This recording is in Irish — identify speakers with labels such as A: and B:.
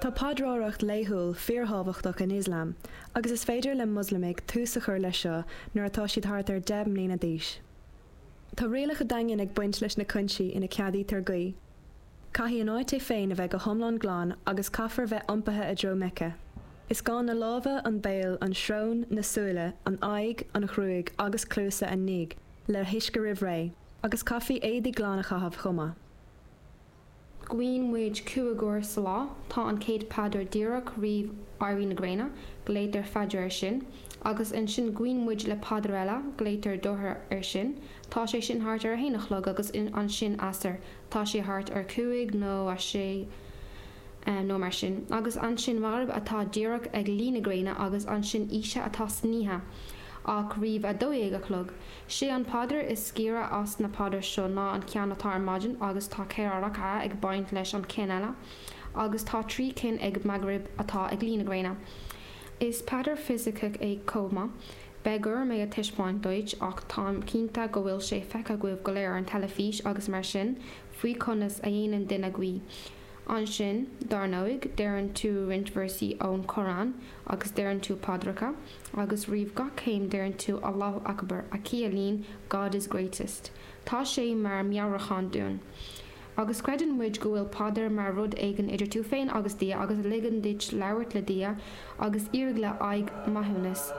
A: Tá paidreoireacht laethúil fíorthábhachtach in Ioslam agus is féidir le Moslamaigh tús a chur leis seo nuair atá siad thart ar 10 mbliana d'aois. Tá rialacha daingean ag baint leis na cúinsí ina ceadaítear guí. Caithfidh an áit é féin a bheith go hiomlán glan agus caithfear bheith iompaithe i dtreo Meice. Is gá na lámha, an béal, an srón, na súile, an aghaidh, an ghruaig agus cluasa a nigh le huisce roimh ré, agus caithfí éadaí glan a chaitheamh chomh maith.
B: Guíonn muid 5 uair sa lá. Tá an chéad phaidir díreach roimh éirí na gréine, glaotar Fajr air sin. Agus ansin guíonn muid le paidir eile, glaotar Dhuhr air sin. Tá sé sin thart ar a haon a chlog agus ansin Asr, tá sé thart ar cúig nó a sé nó mar sin. Agus ansin Maghrib atá díreach ag luí na gréine agus ansin Isha atá san oíche ach roimh 12 a chlog. Sé an paidir is giorra as na paidir seo ná an ceann atá ar maidin agus tá 4 rak'ah ag baint leis an ceann eile agus tá 3 cinn ag Maghrib atá ag luí na gréine. Is paidir fisiceach é chomh maith. Beidh orm é a taispeáint duit ach táim cinnte go bhfuil sé feicthe agaibh go léir ar an teilifís agus mar sin faoi conas a dhéanann duine guí. Ansin, dar ndóigh, deireann tú roinnt véarsaí ón Chorán agus deireann tú paidreacha agus roimh gach céim deireann tú Allahu Akbar a chiallaíonn God is greatest. Tá sé mar meabhrúchán dúinn. Agus creideann muid go bhfuil paidir mar rud éigin idir tú féin agus Dia agus a ligeann duit labhairt le Dia agus iarraidh le haghaidh maithiúnas.